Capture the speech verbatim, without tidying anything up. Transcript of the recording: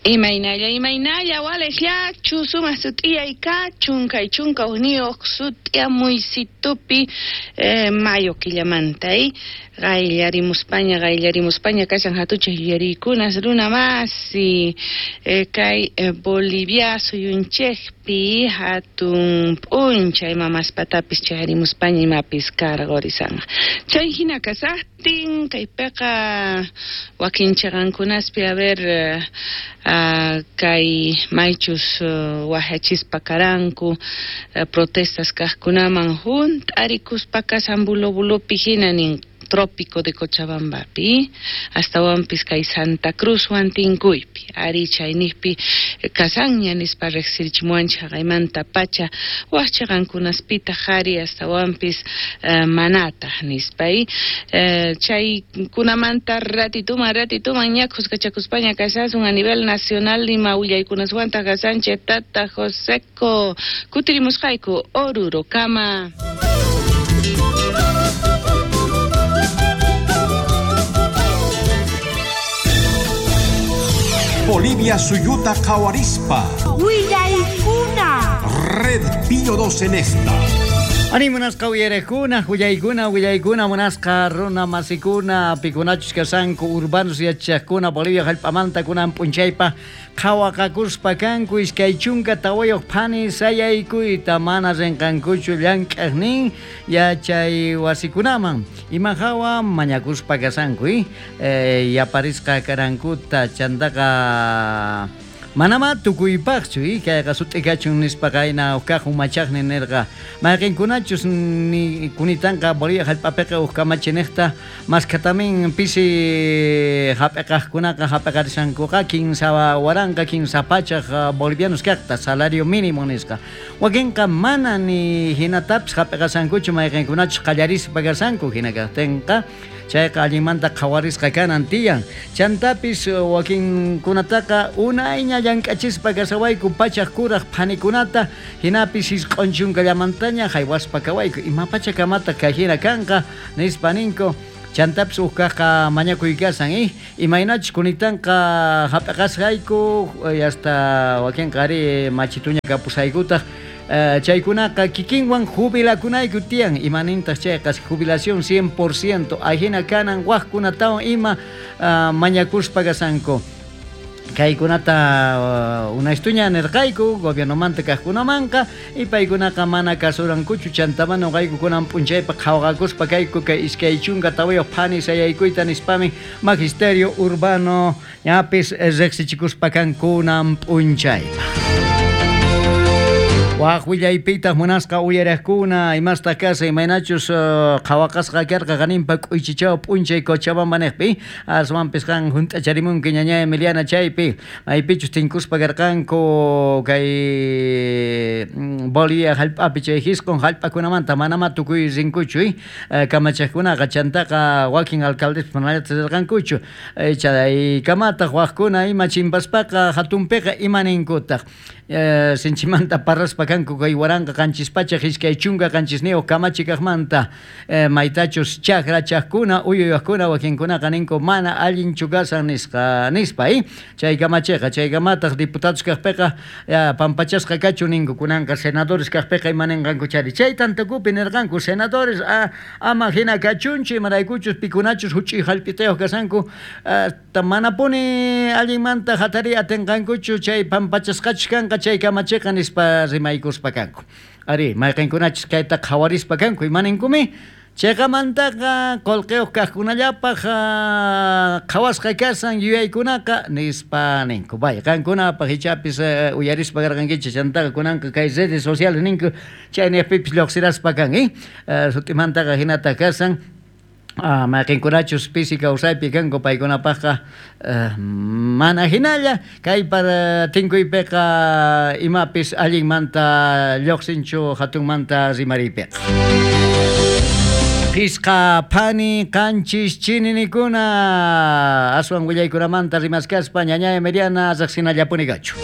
Imaynalla, imaynalla, waleqllachu, sumaq sut'iyay kachun, kay chunka hukniyuq sut'iyamuysitupi eh, mayo killamanta, eh? Qayllarimuspaña, qayllarimuspaña kashan hatuchaq yuyariykunas runa masi, eh, kay eh, Bolivia suyunchikpi hatun p'unchay mamaspatapis chayarimuspaña imapis karqurisanqa. Chay hina kasaqtin kaypiqa wakin chiqankunaspi a ver eh, uh, kay maychus uh, wajachispa karanku uh, protestas kaqkunaman hunt'arikuspa kasan bulo bulopi hina nin trópico de Cochabambapi, astawanpis kay Santa Cruz Huantincuypi, ari chaynijpi kasanña nispa riqsirichimuwanchik haqaymanta pacha wak chiqankunaspitaq ari astawanpis uh, manataq nispa uh, chaykunamanta ratituman ratituman ña khuskachakuspaña kashasun a nivel nacional ima willaykunaswantaq kasanchik tata Joseco kutirimusqayku Orurokama. Bolivia suyuta qhawarispa. Willaykuna. Red Pío dos en esta. Ani munasqa uyarekuna, willaykuna, willaykuna, munasqa runa masikuna, pikunachus kasanku, urbanos yachaqkuna, Bolivia hallp'amanta kunan p'unchaypa qhawaqakuspa kanku, iskay chunka tawayuq phani sayaykuyta mana rinqankuchu llank'aqnin yachay wasikunaman. Ima hawa mañakuspa kasanku, eh? Eh, yaparisqa karankuta chantaqa manama tukuypaqchu, eh? Kayqa sut'ikachun nispa qayna uqkaq umachaqni nirqa mayqinkunachus ni kunitanqa Bolivia hallp'apiqa uq kamachiniqta maskatamin pisi hap'iqaqkunaqa hap'iqarishankuqa kinsa waranqa kinsa pachaq bolivianos kaqta salario mínimo nisqa wakinqa mana ni hinatapis hap'iqasankuchu mayqinkunachus qallarispa kasanku hina kaqtinqa chayqa allinmanta qhawarisqa kanan tiyan chantapis wakinkunataqa unayña llank'achispa kasawayku pachaq kuraq phanikunata hinapis isq'un chunkallamantaña haywaspa kawayku ima pachakamataq kay hina kanqa nispa ninku chantapis uqkaqqa mañakuy kasan eh imaynachus kunitanqa hap'iqasqayku hasta wakinqa ari machituña kapusaykutaq Uh, chaykunaqa kikinwan jubilakunayku tiyan imanintaq chayqa jubilación cien por ciento ajina kanan waqkunatawan ima uh, mañakuspa kasanku kaykunata uh, unaystuña nirqayku gobiernomanta kaqkunamanqa y paykunaqa mana kasurankuchu chantaman nuqayku kunan p'unchaypa qhawaqakuspa kayku kay iskay chunka tawayuq phani sayaykuyta nispami magisterio urbano ñapis riqsichikuspa kankunan p'unchaypa. Waq willaypitaq munasqa uyariqkuna imastaq kasa imaynachus uh, qhawaqasqa karqa qaninpa k'uychichaw p'unchay Cochabamba niqpi aswanpis qan hunt'acharimunki ñaña Emiliana chaypi maypichus tinkuspa karqanku kay Bolivia hallp'api chay hisq'un hallp'akunamanta manama tukuy rinkuchu eh? Kamachaqkunaqa chantaqa wakin alcaldespas manallataq rirqankuchu chaykamataq waqkuna ima chimpaspaqa hatunpiqa imaninkutaq eh, sinchimanta parlaspa kanku kay waranqa qanchis pachaq iskay chunka qanchisniyuq kamachi kaqmanta eh, maytachus chakra chaqkuna uyuyaqkuna wakinkunaqa ninku mana allinchu kasan nisqa nispa eh? Chay kamachiqa chaykamataq diputados kaqpiqa ya, pampachasqa kachu ninku kunanqa senadores kaqpiqa imaninqanku chari chay tantakupi nirqanku senadores ah, ama hina kachunchu imaraykuchus pikunachus huch'uy hallp'itayuq kasanku ah, manapuni allinmanta hatariy atinqankuchu chay pampachasqachus kanqa chay kamachiqa nispa rimaykuspa kanku ari mayqinkunachus kayta qhawarispa kanku imaninkumi chayqamantaqa qullqiyuq kaqkunallapaq qhawasqa kasan yuyaykunaqa nispa ninku vaya qankunapaq ichapis uh, uyarispa karqankichik chantaqa kunanqa kay redes sociales ninku chayniqpipis lluqsiraspa kan eh uh, sut'imantaqa hinata kasan Ah, mayqinkunachus pisi kawsaypi kanku paykunapaqqa uh, mana hinalla kay para tinkuypiqa imapis allinmanta lluqsinchu hatunmanta rimariypiqa. Pisqa phani qanchis chininikuna aswan willaykunamanta rimaskaspa ñaña Emiliana riqsinallapuni kachu.